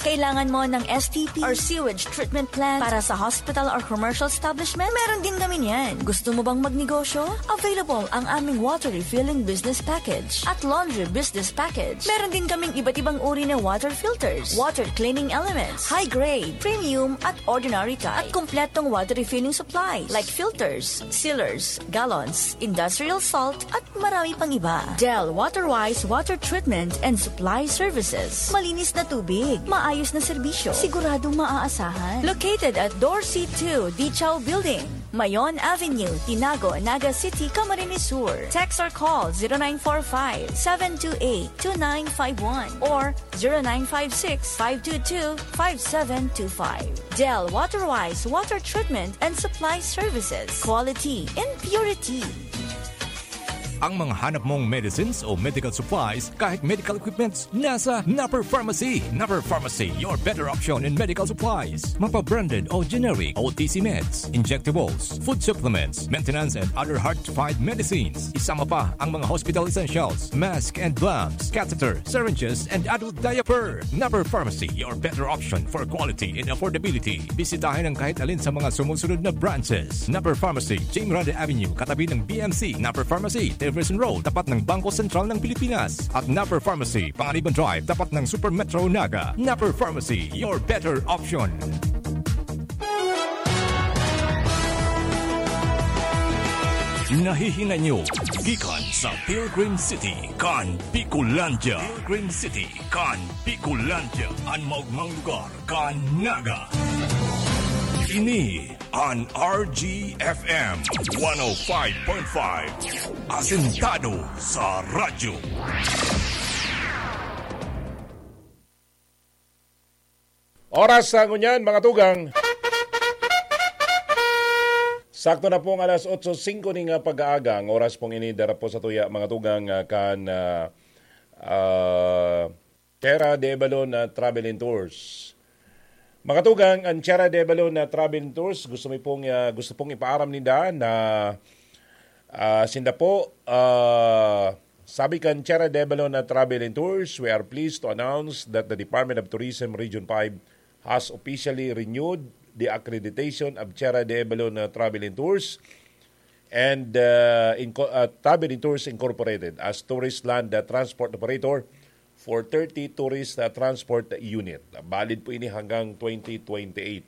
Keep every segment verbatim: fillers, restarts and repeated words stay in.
Kailangan mo ng S T P or sewage treatment plant para sa hospital or commercial establishment? Meron din kami niyan. Gusto mo bang magnegosyo? Available ang aming water refilling business package at laundry business package. Meron din kaming iba't ibang uri ng water filters, water cleaning elements, high grade, premium at ordinary type, at kompletong water refilling supplies like filters, sealers, gallons, industrial salt, at marami pang iba. Del Waterwise Water Treatment and Supply Services. Malinis na tubig, maayos na serbisyo, siguradong maaasahan. Located at Dorsey two Dichaw Building, Mayon Avenue, Tinago, Naga City, Camarines Sur. Text or call zero nine four five, seven two eight, two nine five one or zero nine five six, five two two, five seven two five. Del Waterwise Water Treatment and Supply Services. Quality in purity. Ang mga hanap mong medicines o medical supplies, kahit medical equipments, nasa Napper Pharmacy. Napper Pharmacy, your better option in medical supplies. Mapa-branded o generic, O T C meds, injectables, food supplements, maintenance and other hard-to-find medicines. Isama pa ang mga hospital essentials, mask and gloves, catheter, syringes, and adult diaper. Napper Pharmacy, your better option for quality and affordability. Bisitahin ang kahit alin sa mga sumusunod na branches. Napper Pharmacy, Jing Grande Avenue, katabi ng B M C. Napper Pharmacy, Teverson Road, tapat ng Bangko Sentral ng Pilipinas. At Napper Pharmacy, Panganiban Drive, tapat ng Super Metro Naga. Napper Pharmacy, your better option. Nahihinay nyo gikan sa Pilgrim City kan Bicolandia. Pilgrim City kan Bicolandia, an maogmang lugar kan Naga. Ini an R G F M one oh five point five, asentado sa radyo. Oras sa ngunyan, mga tugang. Sakto na pong alas otso singko ning, ah, pag-aaga. Ang oras pong ini, dara po sa tuya, mga tugang, ah, kan, ah, ah, Tierra de Balon na Travel and Tours. Mga tugang, ang Tierra de Balon na Travel and Tours, gusto mi pong, ah, gusto pong ipaaram ninda na, ah, sinda po, ah, sabi kan Tierra de Balon na Travel and Tours, we are pleased to announce that the Department of Tourism Region five has officially renewed the accreditation of Tierra de Balon na Travel and Tours and, uh, Inco-, uh, Travel and Tours Incorporated as tourist land, uh, transport operator for thirty tourist, uh, transport unit. Valid po ini hanggang twenty twenty-eight.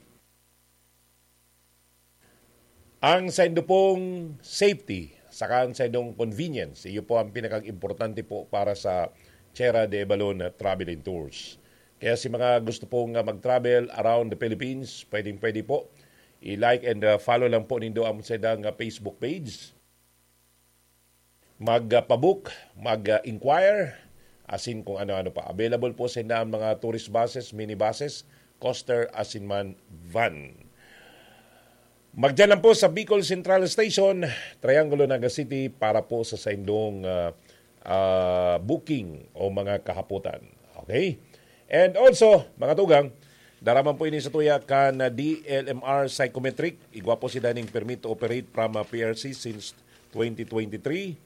Ang saindo pong safety, saka ang saindong convenience, iyo po ang pinakag-importante po para sa Tierra de Balon Travel and Tours. Kaya si mga gusto pong, ah, mag-travel around the Philippines, pwedeng-pwede po. I-like and, ah, follow lang po nindo ang saindang, ah, Facebook page. Mag-pabook, mag-inquire, asin kung ano-ano pa. Available po sa inyo ang mga tourist buses, minibuses, coaster, asin man van. Magdiyan lang po sa Bicol Central Station, Triangulo, Naga City para po sa saindong, ah, ah, booking o mga kahapotan. Okay? And also, mga tugang, dara man po ini sa tuya kan D L M R Psychometric. Igwa po si daning permit to operate from, ah, P R C since twenty twenty-three.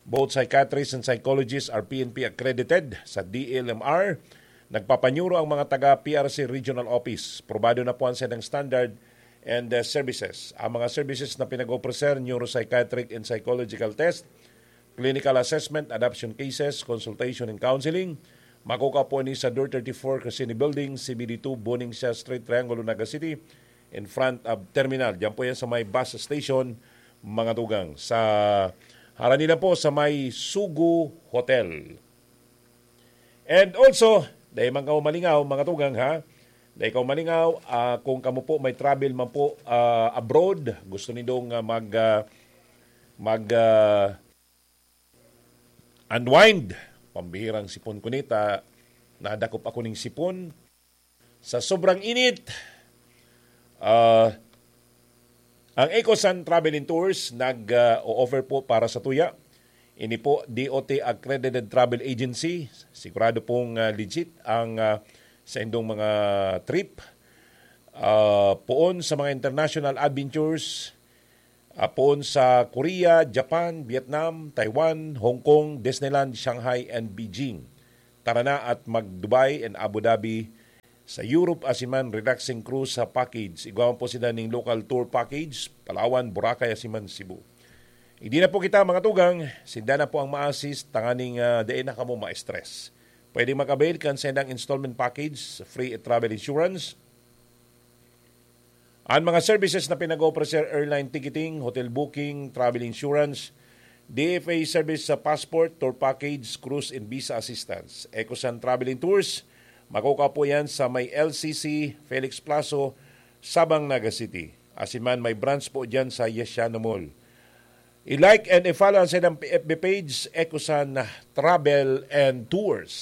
Both psychiatrists and psychologists are P N P accredited sa D L M R. Nagpapanyuro ang mga taga P R C Regional Office. Probado na po ang sedang standard and, uh, services. Ang mga services na pinag-offer, neuropsychiatric and psychological test, clinical assessment, adoption cases, consultation and counseling. Makukuha po ni sa Door thirty-four Crescini Building, C B D two, Buning Siya Street, Triangulo, Naga City, in front of terminal. Diyan po yan sa may bus station, mga tugang. Sa harani lang po sa may Sugo Hotel. And also, dahil man kamo malingaw, mga tugang, ha? Dahil kamo malingaw, ah, kung kamo po may travel man po, ah, abroad, gusto nindong, ah, mag, ah, mag, ah, unwind. Pambihirang sipon ko nita, nadakop ako ning sipon. Sa sobrang init, ah, ang Ecosan Travel and Tours nag, ah, o-offer po para sa tuya. Ini po, D O T accredited travel agency. Sigurado pong, ah, legit ang, ah, saindong mga trip. Ah, poon sa mga international adventures, ah, poon sa Korea, Japan, Vietnam, Taiwan, Hong Kong, Disneyland, Shanghai, and Beijing. Tara na at mag-Dubai and Abu Dhabi sa Europe asiman relaxing cruise sa package. Igwa man po sinda ning local tour package, Palawan, Boracay asiman Cebu. Hindi na po kita, mga tugang, sinda na po ang ma-assist tanganing uh, dai na kamo ma-stress. Pwede mag-avail kan sendang installment package, free travel insurance, Ang mga services na pinag-ooffer, airline ticketing, hotel booking, travel insurance, D F A service sa passport, tour package, cruise and visa assistance. Ecosan Traveling Tours, makukuha po yan sa may L C C, Felix Plazo, Sabang, Naga City. Asiman may branch po dyan sa Yesiano Mall. I-like and i-follow ang silang F B page, Ecosan Travel and Tours.